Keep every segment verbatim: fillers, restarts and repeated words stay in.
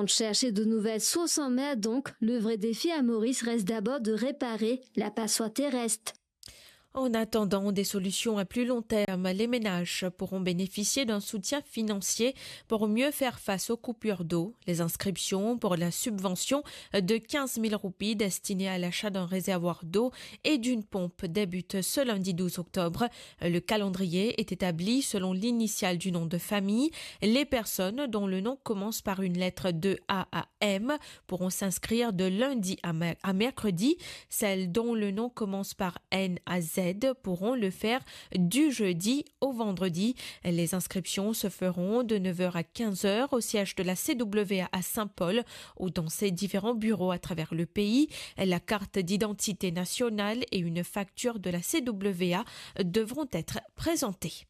On cherche de nouvelles sources en mer, donc le vrai défi à Maurice reste d'abord de réparer la passoire terrestre. En attendant des solutions à plus long terme, les ménages pourront bénéficier d'un soutien financier pour mieux faire face aux coupures d'eau. Les inscriptions pour la subvention de quinze mille roupies destinée à l'achat d'un réservoir d'eau et d'une pompe débutent ce lundi douze octobre. Le calendrier est établi selon l'initiale du nom de famille. Les personnes dont le nom commence par une lettre de A à M pourront s'inscrire de lundi à mer-, à mercredi. Celles dont le nom commence par N à Z pourront le faire du jeudi au vendredi. Les inscriptions se feront de neuf heures à quinze heures au siège de la C W A à Saint-Paul ou dans ses différents bureaux à travers le pays. La carte d'identité nationale et une facture de la C W A devront être présentées.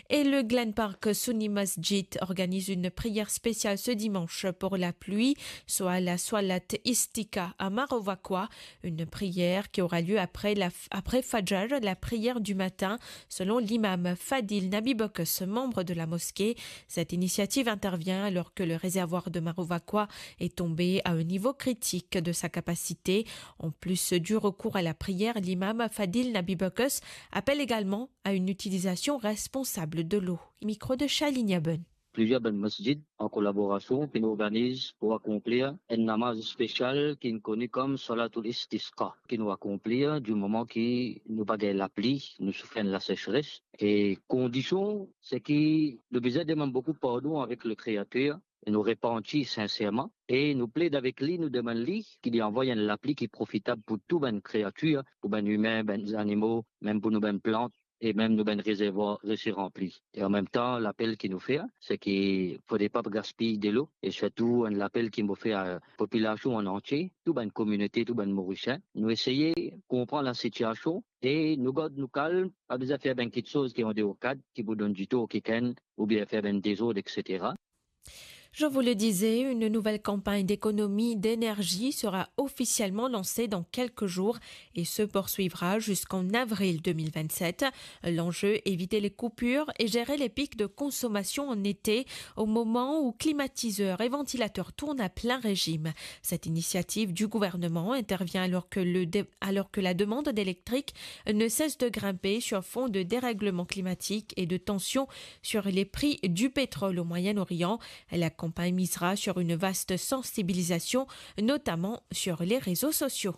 Et le Glen Park Sunni Masjid organise une prière spéciale ce dimanche pour la pluie, soit la Swalat Istisqa à Marovakwa, une prière qui aura lieu après la f-, après Fajr, la prière du matin, selon l'imam Fadil Nabi Bokus, membre de la mosquée. Cette initiative intervient alors que le réservoir de Marovakwa est tombé à un niveau critique de sa capacité. En plus du recours à la prière, l'imam Fadil Nabi Bokus appelle également à une utilisation responsable de l'eau. Micro de Charline Yaben. Plizier bann masjid an kolaborasion ki nou organiz pou akonplir enn namaz spesial ki nou kone kom Salatul Istisqa, ki nou akonplir di moman ki nou pa gagn lapli, nou soufer enn lasesres. E kondision, se ki nou bizin demann boukou pardon avek le Kreater, e nou repanti sinserman, e nou pled avek li, nou demann li ki li anvoy enn lapli ki profitab pou tou bann kreatir, pou bann imin, bann zanimo, mem pou nou bann plant, e mem nou bann rezervwar reste ranpli. E anmemtan, lapel ki nou fer, se ki fode pa gaspiy delo, e sirtou enn lapel ki mo fer a popilasion an antie, tou bann kominote, tou bann Morisien. Nou eseye konpran lasitiasion e nou gard nou kalm, pa bizin fer bann kiksoz ki andeor kad, ki pou donn ditor kikenn, oubien fer bann dezord, et cetera. Je vous le disais, une nouvelle campagne d'économie d'énergie sera officiellement lancée dans quelques jours et se poursuivra jusqu'en avril deux mille vingt-sept. L'enjeu, éviter les coupures et gérer les pics de consommation en été, au moment où climatiseurs et ventilateurs tournent à plein régime. Cette initiative du gouvernement intervient alors que le dé-, alors que la demande d'électrique ne cesse de grimper sur fond de dérèglement climatique et de tensions sur les prix du pétrole au Moyen-Orient. La campagne misera sur une vaste sensibilisation, notamment sur les réseaux sociaux.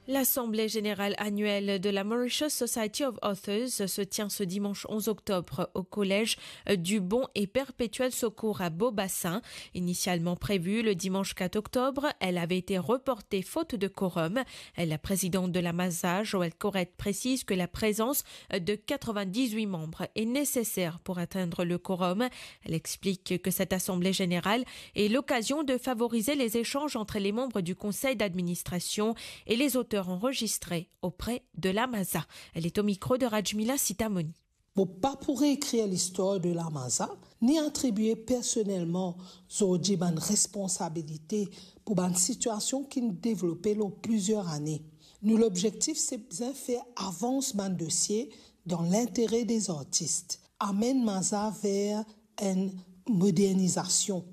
L'Assemblée générale annuelle de la Mauritius Society of Authors se tient ce dimanche onze octobre au collège du Bon et Perpétuel Secours à Beau-Bassin. Initialement prévue le dimanche quatre octobre, elle avait été reportée faute de quorum. La présidente de la MASA, Joëlle Corette, précise que la présence de quatre-vingt-dix-huit membres est nécessaire pour atteindre le quorum. Elle explique que cette assemblée générale est l'occasion de favoriser les échanges entre les membres du conseil d'administration et les auteurs enregistrés auprès de la MASA. Elle est au micro de Rajmila Sitamoni. Mo pa pou reekrir listwar de la MASA, ni atribie personelman zordi bann responsabilite pou bann sitiasion ki'nn devlope lor plizier ane. Nou lobzektif se bizin fer avans bann dosie dan lintere dezartis, amenn MASA ver enn modernizasion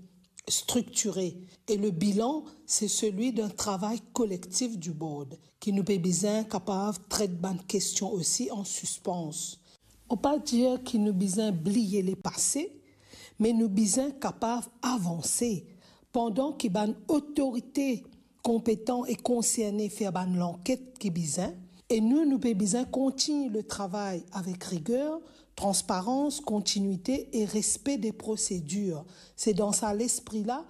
striktire, e le bilan se selwi d'un travay kolektif du board, ki nou pe bizin kapav tret bann kestion osi an sispans. Mo pa dir ki nou bizin bliye lepase, me nou bizin kapav avanse, pandan ki bann otorite konpetan e konserne fer bann lanket ki bizin, e nou, nou pe bizin kontign le travay avek riger, transparans, kontinwite e respe de prosedir. Se dan sa lespri la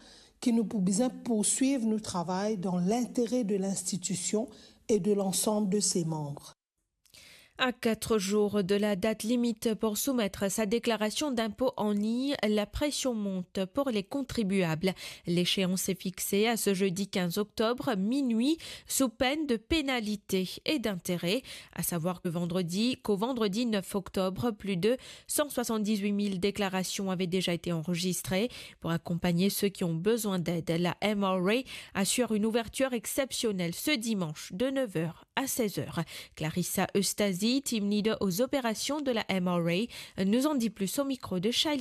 ki nou pou bizin pourswiv nou travay dan lintere de linstitision e de lansam de se manb. À quatre jours de la date limite pour soumettre sa déclaration d'impôt en ligne, la pression monte pour les contribuables. L'échéance est fixée à ce jeudi quinze octobre, minuit, sous peine de pénalités et d'intérêts. À savoir que vendredi, qu'au vendredi neuf octobre, plus de cent soixante-dix-huit mille déclarations avaient déjà été enregistrées. Pour accompagner ceux qui ont besoin d'aide, la M R A assure une ouverture exceptionnelle ce dimanche de neuf heures à seize heures. Clarissa Eustazi, team leader aux opérations de la M R A, nous en dit plus au micro de Shailene